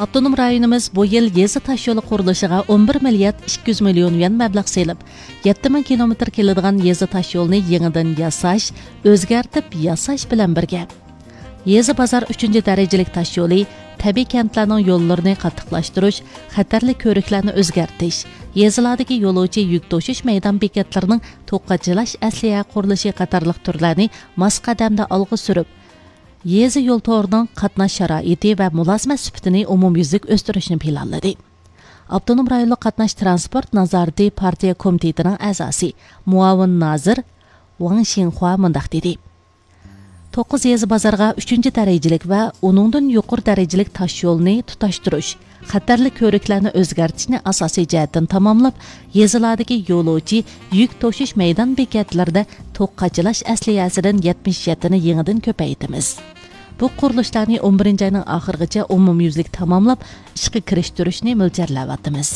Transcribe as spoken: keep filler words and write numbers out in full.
ئاپتونوم رايونىمىز بۇ يىل يېزا تاشيولى قۇرۇلۇشىغا ئون بىر مىليارد ئىككى يۈز مىليون يۈەن مەبلەغ سېلىپ، يەتتە مىڭ كىلومېتىر كېلىدىغان يېزا تاشيولىنى يېڭىدىن ياساش، ئۆزگەرتىپ ياساش بىلەن بىرگە، يېزا بازار ئۈچىنچى دەرىجىلىك تاشيولى، تەبىئىي كەنتلەرنىڭ يوللىرىنى قاتتىقلاشتۇرۇش، خەتەرلىك كۆۋرۈكلەرنى ئۆزگەرتىش، يېزىلاردىكى يولۇچى يۈك توشۇش مەيدان بېكەتلىرىنىڭ توك قاچىلاش ئەسلىھە قۇرۇلۇشى قاتارلىق تۈرلەرنى ماس قەدەمدە ئالغا سۈرۈپ، يېزا يول تورىنىڭ قاتناش شارائىتى ۋە مۇلازىمەت سۈپىتىنى ئومۇميۈزلۈك ئۆستۈرۈشنى پىلانلىدى. ئاپتونوم رايونلۇق قاتناش تىرانسپورت نازارىتى پارتىيە كومىتېتىنىڭ ئەزاسى، مۇئاۋىن نازىر ۋاڭ شىڭخۇا مۇنداق دېدى: توققۇز يېزا بازارغا ئۈچىنچى دەرىجىلىك ۋە ئۇنىڭدىن يۇقىرى دەرىجىلىك تاش يولنى تۇتاشتۇرۇش، خەتەرلىك كۆۋرۈكلەرنى ئۆزگەرتىشنى ئاساسىي جەھەتتىن تاماملاپ، يېزىلاردىكى يولۇچى يۈك توشۇش مەيدان بېكەتلىرىدە توك قاچىلاش ئەسلىھەسىدىن يەتمىش يەتتىنى يېڭىدىن كۆپەيتىمىز. بۇ قۇرۇلۇشلارنى ئون بىرىنچى ئاينىڭ ئاخىرىغىچە ئومۇميۈزلۈك تاماملاپ، ئىشقا كىرىشتۈرۈشنى مۆلچەرلەۋاتىمىز.